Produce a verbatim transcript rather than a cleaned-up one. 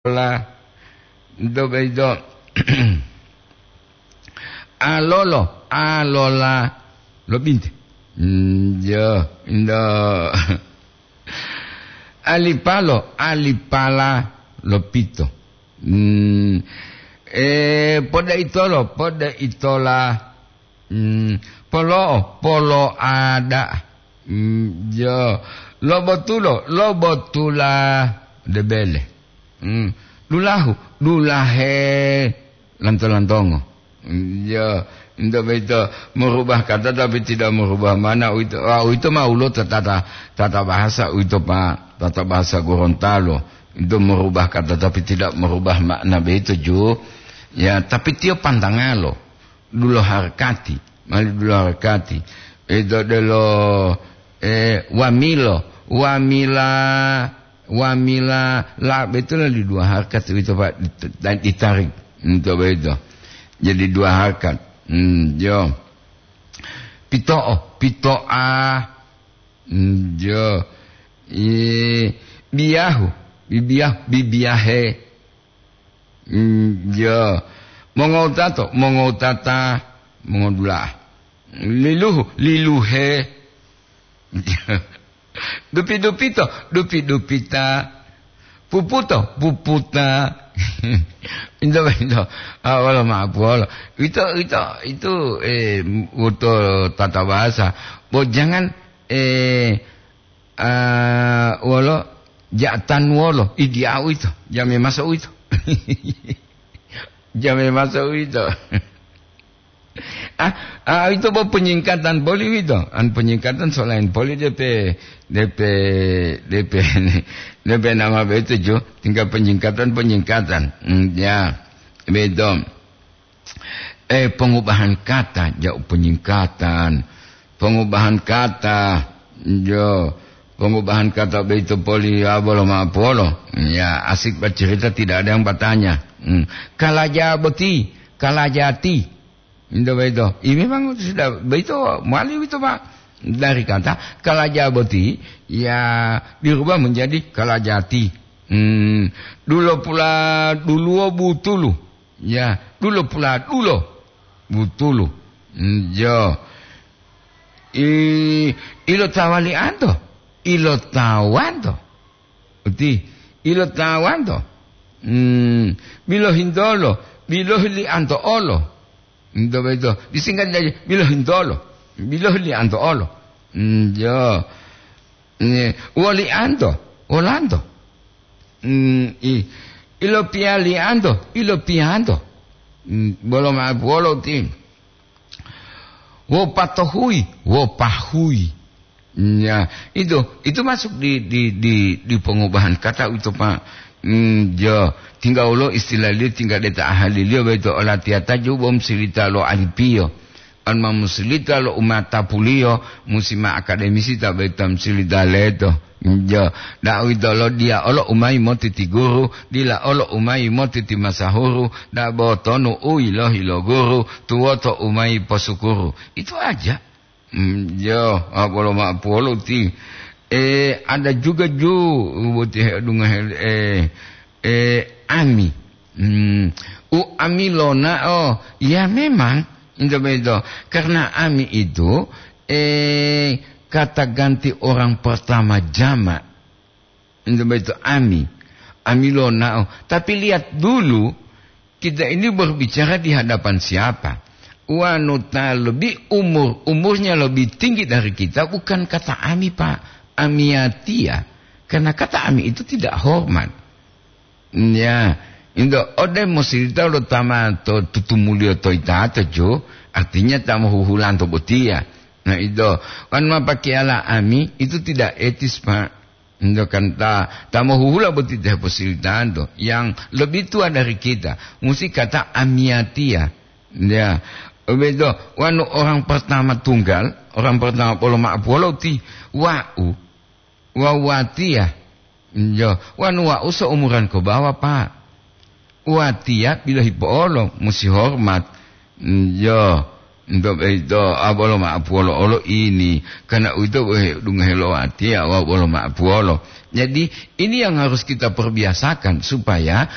la, ento boyito. Alolo, alola lo binte. Mm, yo, ento. Alipalo, alipala lo pito. Mm, eh, podaitolo, podaitola. Mm, polo'o, polo'a da'a. Mm, yo. Lobotulo, lobotula debele. Mm, dulahu, dulahe lanto-lantongo. Mm, yo. Ento boyito merubah kata tapi tidak merubah makna, uwito, ah, uwito ma ulo tata, tata bahasa uwito, Pak, tata bahasa Gorontalo. Ento merubah kata tapi tidak merubah makna boyito, ju. Ya, tapi tiyo pantangalo. Dulo harakati, mali dulo harakati. Ito delo, eh, wamilo, wamila, wamila, la, betul di dua harakat itu, Pak, dit-, dan ditarik. Untuk begitu. Jadi dua harakat. Hmm, yo. Pito'o, pito'a. Hmm, yo. I, biyahu, bibiyahu, bibiyahe. Mm, yo. Mongowutato, mongowutata, mongodula'a. Liluhu, liluhe. Dupi-dupito, dupi-dupita. Puputo, puputa. Ito, ito. Ah, wolo ma'apuwolo. Ito, ito, itu, eh, uto tata bahasa. Bo jangan, eh, Ah, wolo, ja'atan wolo, idi au ito, jame maso uwito. Jame maso uwito. Ah, ah, ito bo penyingkatan poli uwito. An penyingkatan selain poli depe, depe, depe, depe nama beto jo, tinggal penyingkatan, penyingkatan. Hmm, ya, beto. Eh, pongubahan kata, ja'u penyingkatan. Pongubahan kata, jo, pongubahan kata boyito poli, ya, bolo ma'apuwolo. Ya, asik bercerita, tidak ada yang bertanya. Hmm. Kalaja boti, kalajati. Ito boyito. Ini memang sudah boyito, mali boyito, Pak. Dari kata kalaja boti, ya, dirubah menjadi kalajati. Hmm. Dulo pula duluwo butulu. Ya, dulo pula dulo. Butulu. Mm, yo. I, ilotawalianto. Ilotawanto. Uti, ilotawanto. Mm, bilohintolo. Bilohilianto olo. Ento beto. Disingkat jadi bilohintolo. Bilohilianto olo. Mm, yo. Ni, wolianto. Wolanto. Mm, i, ilopiyalianto, ilopiyanto. Mm, bolo ma'apuwolo ti. Wopatohuyi, wopahuyi. Mm, ya, itu, itu masuk di, di, di, di pengubahan kata itu, Pak. Mm, jo, tinggal ulo istilahliyo, tinggal deta ahaliliyo, boyito olatiyata ju bom silita lo alipiyo. An ma musilita lo umatapuliyo, musi ma akademisi ta boyito musilita leto. Jo, da'u ito lo diya olo umayi motiti guru, dila olo umayi motiti masahuru, dabo tonu u yilohi lo guru, tuwoto umayi posukuru. Itu aja. Mm, jo, a, bolo ma'apuwolo ti. Eh, ada juga ju, boti he'odungohe, eh, eh, ami. Hmm, u ami lona'o, ya memang, ento boyito. Karena ami itu, eh, kata ganti orang pertama jama. Ento boyito ami. Ami lona'o. Tapi lihat dulu, kita ini berbicara di hadapan siapa? Wanu ta lebih umur, umurnya lebih tinggi dari kita, bukan kata ami, Pak. Amiyatiya. Karena kata ami itu tidak hormat. Ya, ento ode mosirita lo tama to tutumuliyo to itato jo, artinya ta mohuhulanto botiya. Nah, itu kan mapakiyala ami, itu tidak etis, Pak. Ento kan ta, ta mohuhula boti te posiritanto, yang lebih tua dari kita, musi kata amiyatiya. Ya, begitu. Wanu orang pertama tunggal, orang pertama polo ma'apuwolo ti wa'u. Wawu watiya, jo, wanu wa'u seumuran ko bawa, Pak. Watiya bilohi po'olo, musi hormat. Jo, ento boyito, a, bolo ma'apuwolo olo ini. Karena uwito, dungohe lo watiya, wa bolo ma'apuwolo. Jadi, ini yang harus kita perbiasakan supaya